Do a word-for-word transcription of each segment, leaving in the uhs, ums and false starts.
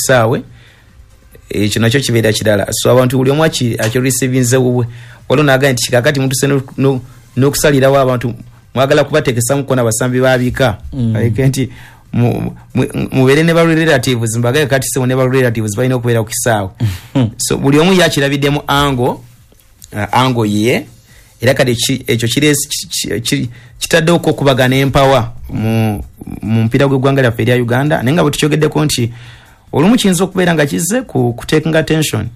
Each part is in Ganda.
kisaawe, ekyo nakyo kibeera kirala. So abantu buli omu akirisiivinze bubwe. Waliwo n'agamba nti kakati mutuse n'okusalirawo abantu, mwagala kubateekesamuko n'abasambi babika nti mubeere ne ba relatives, mbagaye kati sebo ne ba relatives balina okubeera ku kisaawe. So buli omu yakirabiddemu ango ango ye, era kati ekyo kitaddewo okubagana empawa mu mupiira gw'eggwanga lyaffe erya Uganda. Naye nga bwe tukyogeddeko nti olumu kiyinza okubeera nga kizze ku kutakinga attention,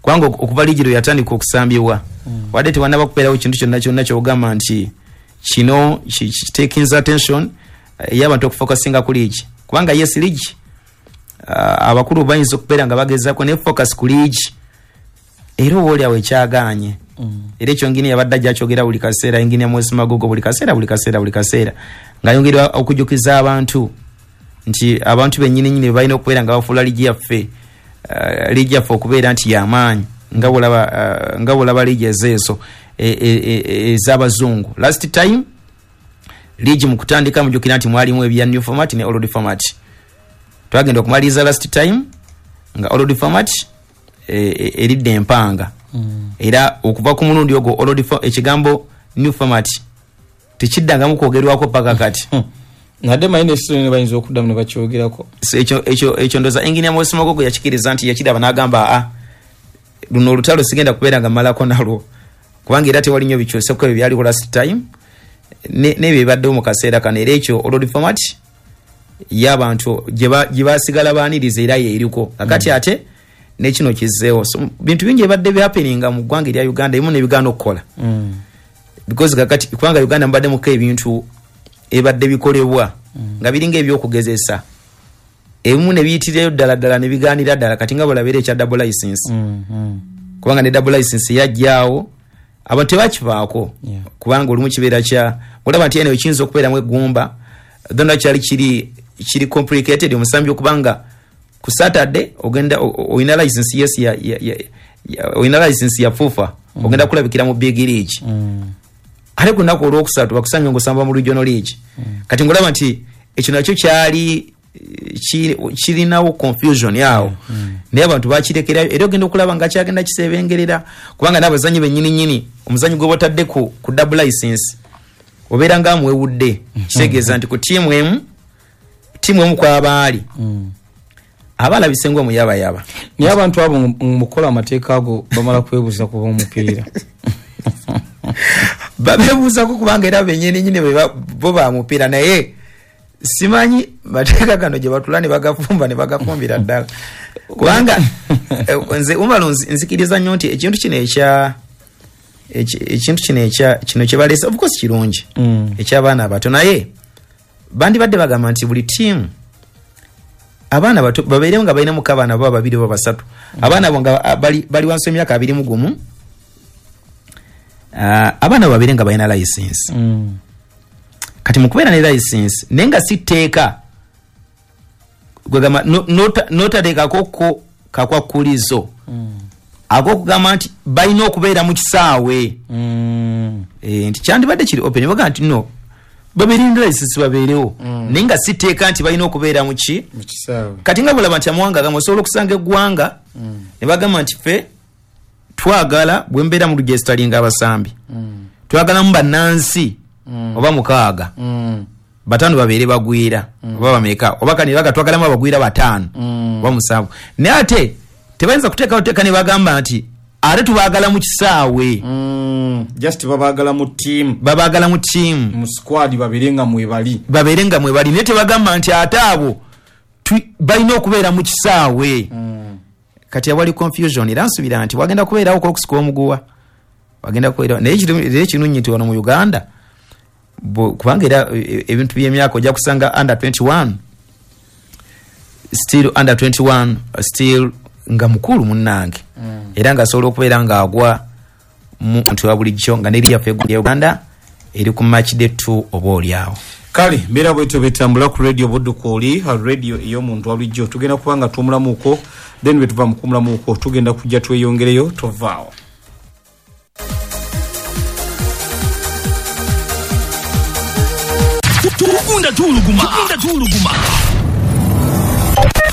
kubanga okuva liigi lwe yatandika okusambibwa wadde tewannaba kubeerawo kintu kyonna kyonna ky'ogamba nti kino kitakinze attention ey'abantu okufokasinga ku liigi, kubanga yes, liigi abakulu bayinza okubeera nga bagezaako ne focus ku liigi, era oba oliawo ekyagaanye. Era ekyo ngini yabadde ajja akyogera buli kaseera, engini ya Moses Magogo buli kaseera buli kaseera buli kaseera, ng'ayongera okujjukiza abantu nti abantu bennyini nnyini balina okubeera nga bafuula liigi yaffe liigi yaffe okubeera nti y'amaanyi, nga bw'olaba nga bw'olaba liigi ezeezo ez'abazungu. Last time liigi mu kutandika mujjukira nti mwalimu ebya new format ne old format. Twagenda okumaliriza last time nga old format eridde empanga, era okuva ku mulundi ogwo old ekigambo new format tekiddangamu kwogerwako paka kati. Nadde manyi nesizoni bayinza okuddamu ne bakyogerako. Ekyo ekyo ekyo ndowooza Engineer Moses Magogo yakikiriza nti yakiraba n'agamba a luno olutalo sigenda kubeera nga mmalako nalwo, kubanga era tewali nnyo bikyuseko ebyo byaliwo last time n'ebyo ebibaddewo mu kaseera kano. Era ekyo old format y'abantu gye basigala baaniriza era yeeriko kakati, ate nekino kizzeewo. So bintu bingi ebadde byahappeninga mu ggwanga erya Uganda, ebimu nebigaana okukola because kakati kubanga Uganda mubaddemuko ebintu ebadde bikolebwa nga biringa ebyokugezesa, ebimu ne biyitirayo ddala ddala ne bigaanira ddala, kati nga bw'olaba ekya double license, kubanga ne double license yajjaawo abantu tebakivaako, kubanga olumu kibeera kya olaba nti eno ekiyinza okubeeramu eggumba donna kyali kiri kiri complicated omusambi okubanga ku Saturday ogenda olina license yes ya olina license ya FUFA, ogenda kulabikira mu big league, ate ku lunaku olwokusatu bakusanga ng'osamba mu regional league. Kati ng'olaba nti ekyo nakyo kyali kirinawo confusion yawo, naye abantu bakirekerayo, era ogenda okulaba nga kyagenda kisebengerera, kubanga n'abazanyi bennyini nnyini omuzanyi gwe batadde ku ku double license obeera nga amuwewudde, kitegeeza nti ku ttiimu emu ttiimu emu kw'abaali abalabise ng'omuyabayaba. Naye abantu abo mukola amateeka ago bamala kwebuuza kuba omupiira babeebuuzako, kubanga era bennyini nnyini bo bamupiira, naye simanyi mateeka gano gye batula ne bagafumba ne bagafumbira ddala, kubanga nze Umaru nzikiriza nnyo nti ekintu kino ekya ekintu kino ekya kino kye baleese of course kirungi eky'abaana abato, naye bandibadde bagamba nti buli ttiimu abaana bato babeerewo nga balinamuko abaana baba babiri oba basatu, abaana abo nga bali wansi w'emyaka abiri mu gumu, abaana babeere nga balina license. Kati mu kubeera ne license naye nga si tteeka, gwegamba n'otateekako ko kakwakulizo ak'okugamba nti balina okubeera mu kisaawe, nti kyandibadde kiri open, bagamba nti no babeere ne license babeerewo, naye nga si tteeka nti balina okubeera mu ki kati nga bw'olaba nti amawanga agamu osobola okusanga eggwanga ne bagamba nti ffe twagala bwe mbeera mu registeringa abasambi twagalamu bannansi oba mukaaga bataano babeere bagwira oba bameka oba kani baga twagalamu abagwira bataano oba musanvu, naye ate tebayinza kuteekawo tteeka ne bagamba nti ate tubaagala mu kisaawe, just babaagala mu ttiimu, babaagala mu ttiimu mu squad babeere nga mwebali babeere nga mwebali, naye tebagamba nti ate abo balina okubeera mu kisaawe. Kati awali confusion, era nsuubira nti wagenda kubeerawo okusika omuguwa, wagenda kubeerawo, naye ekirungi nti wano mu Uganda kubanga era ebintu by'emyaka ojja kusanga under twenty-one still under twenty-one still nga mukulu munnange, era ng'asobola okubeera ng'agwa mu ntu wa bulijjo nga n'eri yaffe ya Uganda eri ku match day two oba oliawo. Kale mbeera bwetyo betambula ku radio Budukoli, radio ey'omuntu wa bulijjo. Tugenda kuba nga tuwumulamuuko, then bwe tuva mu kuwumulamuuko tugenda kujja tweyongereyo, tovaawo. Tugunda tuluguma, tugunda tuluguma,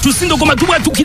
tusindogoma tubwatukira.